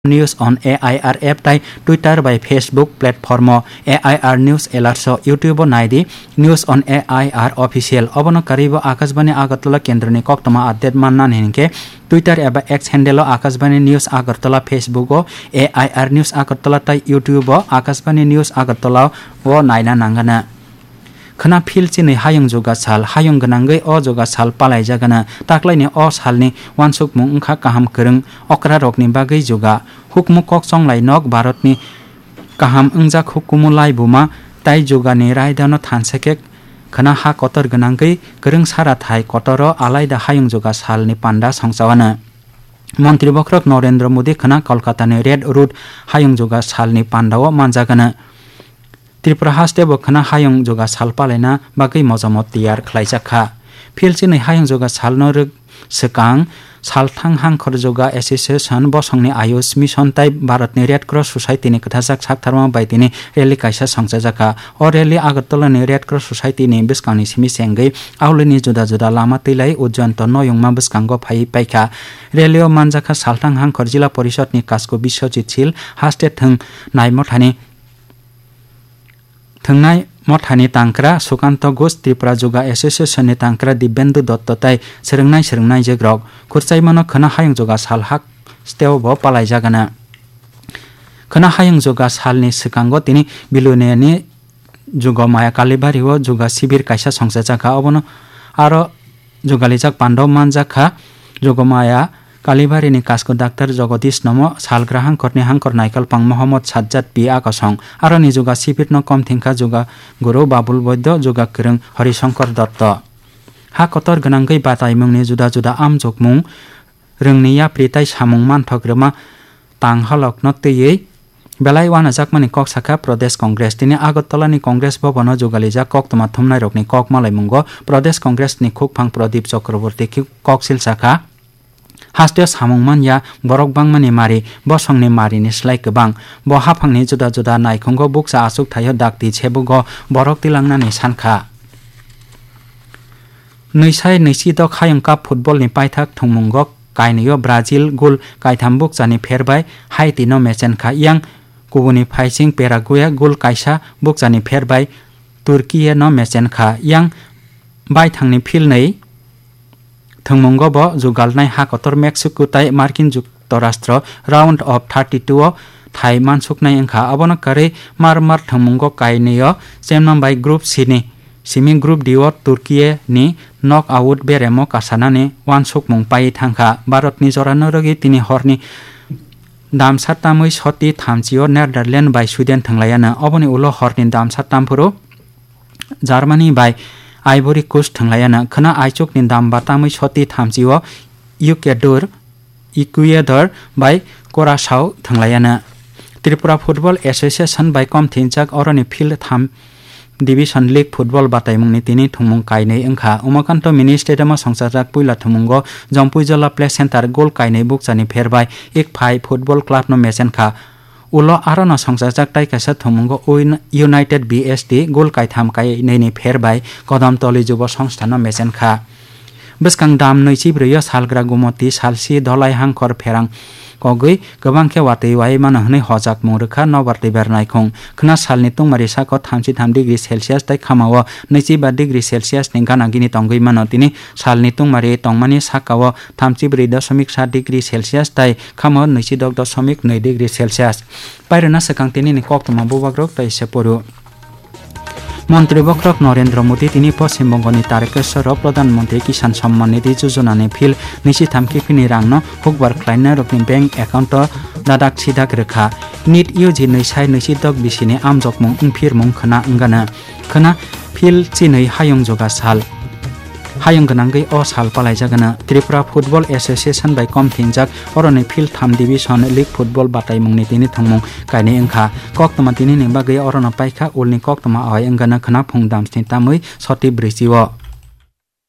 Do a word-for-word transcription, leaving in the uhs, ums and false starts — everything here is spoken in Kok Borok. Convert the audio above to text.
News on A I R app tai Twitter bai Facebook platform o A I R News Alerts o YouTube o nai di News on A I R Official. Obono karwi bo Akashbani Agartala kendroni koktwma update mannani hinkhe Twitter eba X handle o Akashbani News Agartala, Facebook o A I R News Agartala tai YouTube o Akashbani News Agartala o naina nangana. Khwna phil chinwi hayung juga sal, hayung gwnangwi o juga sal palaijagana. Taklaini o salni uansukmung wngkha kaham kwrwng okrarokni bagwi juga. Hukmu kok chonglai nok Bharatni kaham wngjak hukumu laibuma tai jugani raidano thansa khe khwna ha kotor gwnangwi kwrwng sara thai kotoro alaida hayung juga salni panda songchawana. Montri bokhorok Narendra Modi khwna Kolkatani Red Road hayung juga salni pandao manjagana. Tripura haste bo khwna hayung juga sal palaina bagwi mojamo tiyar khlaijak kha. Phil chinwi hayung juga salno rwk swkang salthang Hangkhor Juga Association bosongni Ayush Mission tai Bharatni Red Cross Society ni kwthajak saktharma bai tini rally kaisa songchajak kha. O rally Agartala ni Red Cross Society ni bwskangni simi se wngwi aulini juda juda lama twilai Ujjayanto noyungma bwskango phaiwi paikha. Rally o manjakha salthang Hangkhor Jila Porishod ni Kasko Biswajit Sil, haste thwng nai mothani Thwngnai mothani tangkra Sukanto Ghosh, Tripura Juga Association ni tangkra Dibyendu Dotto tai swrwngnai swrwngnaijwkrok khurchaimano khwna hayung juga sal hasteo bo palaijagana. Khwna hayung juga salni swkango tini Biluniyani Jugomaya Kalibari o juga sibir kaisa songchajak kha, obono aro jugalijak pandao manjak kha. Jugomaya Kalibarini Kasko Doctor Jagadish Nomo, salgra Hangkhorni Hangkhor Naikolpang Mohammad Sajjad P A Kosong. Aroni juga sibirno kom thengkha juga guru Babul Boiddo, juga kwrwng Horisongkor Dotto. Ha kotor gwnangwi bataimungni juda juda amjokmung, rwngni yapri tai samung manthok rwma tang halokno twiwi belai uanajakmani kok sakha Pradesh Congress. Tini Agartala ni Congress Bhavan o jugalijak koktwma thumnairokni kok malaimungo Pradesh Congress ni khukphang Pradip Chakraborty kok silsa kha. Hasteo samung manya borok bangmani mari, bosongni marini slai kwbang. Bo haphangni juda juda naikhungo bukcha achuk thaio dakti sebugo borok tilangnani sankha. Nwisai nwisidok hayung cup football ni paithak thwngmungo kainwio Brazil gol kaitham bukchani pherbai Haiti no mechenkha, yang kubuni phaising Paraguay gol kaisa bukchani pherbai Turkey no mechenkha, yang baithangni philnwi thwngmungo bo jugalnai ha kotor Mexico tai Markin Juktorastro round of thirty-two o thai mansuknai wngkha. Abono karwi mar mar thwngmungo kainwio chemnambai Group C ni simi Group D o Turkey ni knock out beremo kasanani uansukmung paiwi thangkha. Bharatni jorano rwgwi tini horni damsa tamwi soti thamchi o Netherlands bai Sweden thwnglaiyano. Oboni ulo horni damsa tamphuru Germany bai Ivory Coast thwnglaiyano. Khwna aichukni damba tamwi soti thamchi o Ecuador, Ecuador bai Curaçao thwnglaiyano. Tripura Football Association bai kom thinjak oroni field tham Division League football bataimungni tini thwngmung kainwi wngkha. Umakanto Mini Stadium o songchajak puila thwngmungo Jompuijola Play Center gol kainwi bukchani pherbai Ikphai Football Club no mechenkha. Ulo arono songchajak tai kaisa thwngmungo Ui-, United B S T gol kaitham kainwini pherbai Kodamtoli Jubo Songstha no mechenkha. Bwskang dam nwichibrwi o salgra Gumoti salsi Dholai Hangkhor pherang kogwi kwbang khe watwi wai mano hwnwi hojakmung rwkha Nobar Twibar Naikhung. Khwna salni tungmari sako thamchi tham degree Celsius tai khamao nwichiba degree Celsius ni gana gini tongwi mano. Tini salni tungmari tongmani sakao thamchibrwi dosomik sa degree Celsius tai khamao nwichidok dosomik nwi degree Celsius. Pairwna swkang tinini koktwma bubagrok tai se poru. Montri bokhorok Narendra Modi tini Poschim Bongoni Tarekeswaro Pradhan Mantri Kisan Samman Nidhi Yojana ni phil nwichitham kiphilni rangno hukbar khlainai rokni bank account o dadak sidak rwkha. NEET U G nwisai nwichidok bisini amjokmung wngphirmung khwna wngano. Khwna phil chinwi hayung juga sal. Hayung gwnangwi o sal palaijagano. Tripura Football Association bai kom thinjak oroni field tham division league football bataimungni tini thwngmung kainwi wngkha. Koktwma tinini bagwi orono paikha ulni koktwma awai wngano khwna phung damsni tamwi soti brwichi o.